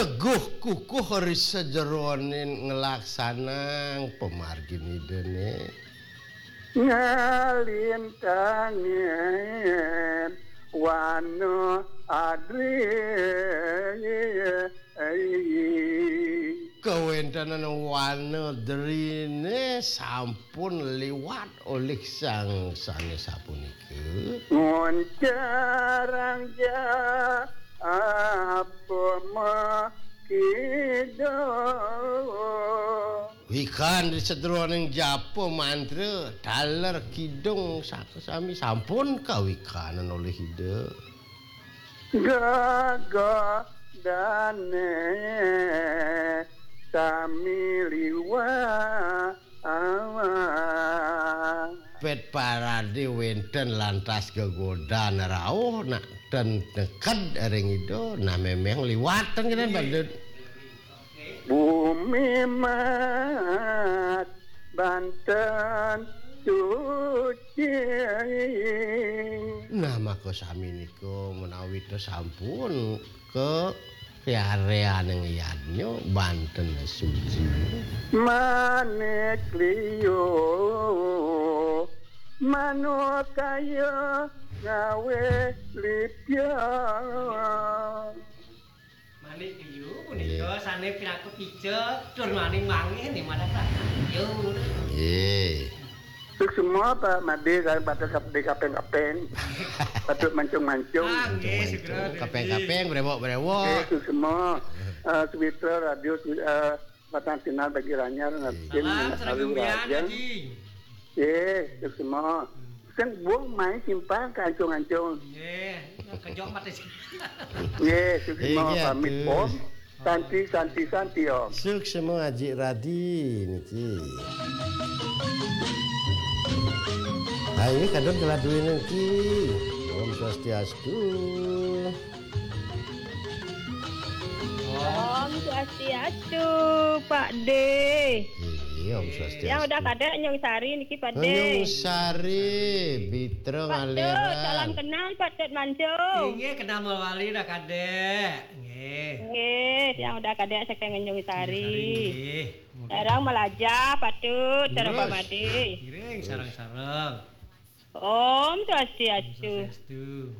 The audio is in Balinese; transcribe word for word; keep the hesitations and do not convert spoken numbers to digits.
Teguh kukuh ri sajeroning nglaksanang pamargin Idane. Ngalintangin wana adri. Kawentenan wana drine sampun liwat olih sang sane sapunika. Ngoncarang ja apa makida. Wikan di sedroning japa mantra taler kidung saka sami sampun kawikanan olih Ida. Gagah dane sami liwat. Pet parade wenten lantas gegodan rauh nak ten neked ring Ida, nah memang liwatan kita badut. Bumi mat banten suci. Nah, maka sami nika menawi ta sampun ke piareaning yadnya banten suci. Manik liyo manukaya ngawe lipya. Manik liyo punika sane pinaka pica tur maning mangih nih madak. Yo. Nggih. Suksma Pak Made kalian patut kap-, di kapeng-kapeng. Patut mancung-mancung. Ah, nggih, suksma. Kapeng-kapeng, brewok-brewok. Nggih, suksma. Eh, Sumitra Radio, eh, Batang Sinar bagi Ranyar, Ngarcin, Salam, Alu Rajang. Haji. Nggih, suksma. Sing buang main simpang ke ancung-ancung. Nggih, kejok mati. Nggih, suksma. Nggih, pamit, atur. Om. Santi, santi, santi, Om. Suksma Aji Radi niki. Ayo kadon keladuin niki. Om Swastiastu. Om Swastiastu, Pak De. Iya, Om Swastiastu. Yang udah kadek Nyung Sari niki, Pak De. Nyung Sari, Bitra Pak Tut, ngaliran. Salam kenal, Pak Tut Mancung. Inggih, kenal mawali dah kadek. Nggih. Nggih, yang udah kadek saking Nyung Sari. Nyung Sari, nggih. Sareng Malaja, Pak Tut, sareng Pak Made. Ngiring, sareng-sareng. Om Swastiastu. Swastiastu.